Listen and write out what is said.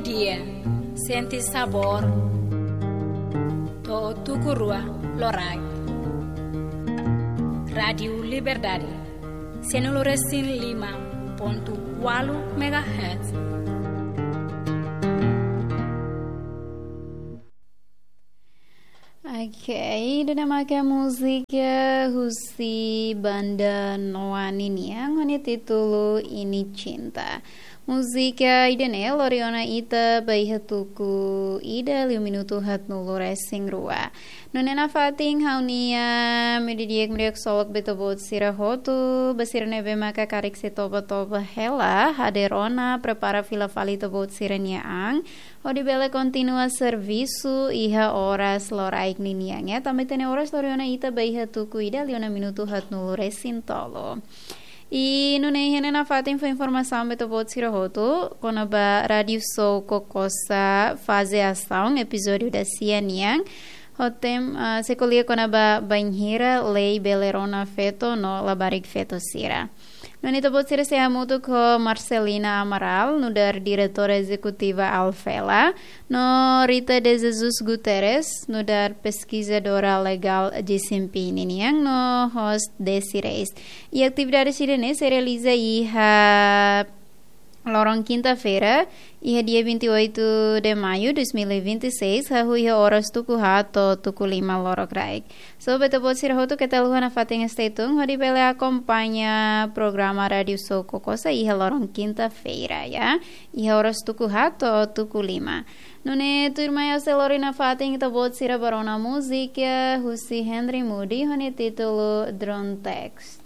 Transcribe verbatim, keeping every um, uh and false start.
Dia, sente sabór to'o tuku rua loraik. Rádiu Liberdade, sanulu resin lima pontu ualu megahertz. Oke, ida-ne'e maka múzika husi banda Noa ninian ho nia títulu Ini Cinta. Múzika ida-ne'e lori ona ita ba iha tuku ida liu minutu haatnulu resin rua. Nune'e nafatin ha'u-nia meiudia di'ak, meiudia ksolok ba ita-boot sira hotu, ba sira ne'ebé maka karik sei toba-toba hela, hadeer ona, prepara fila fali ita-boot sira-nia an, hodi bele kontinua servisu iha oras loraik ninian, ya. Tanba ita-nia oras lori ona ita ba iha tuku ida liu ona minutu haatnulu resin tolu. I nune'e iha ne'e nafatin fó informasaun ba ita-boot sira hotu kona-ba Rádiu Sou Kokosa faze asaun, epizódiu dasia nian. Hotem, ah, sei ko'alia kona-ba bainhira lei bele rona feto no labarik feto sira. Nune'e ita-boot sira sei hamutuk ho Marcelina Amaral, nu'udar diretora ezekutiva Alfela, no Rita de Jesus Guterres, nu'udar peskizadora legál G C M P ninian, no host Desi Reis. I atividade sira-ne'e sei realiza iha loron kinta-feira, iha dia vinte e oito de maio dois mil e vinte e seis, hahú iha oras tuku haat to'o tuku lima lorokraik. So, ba ita-boot sira hotu keta haluha nafatin stay tune, hodi bele akompaña programa Rádiu Sou Kokosa iha loron kinta-feira, ya. Iha oras tuku haat to'o tuku lima. Nune'e tuirmai ha'u sei lori nafatin ita-boot sira ba rona múzika husi Henry Moody ho nia títulu Drone Text.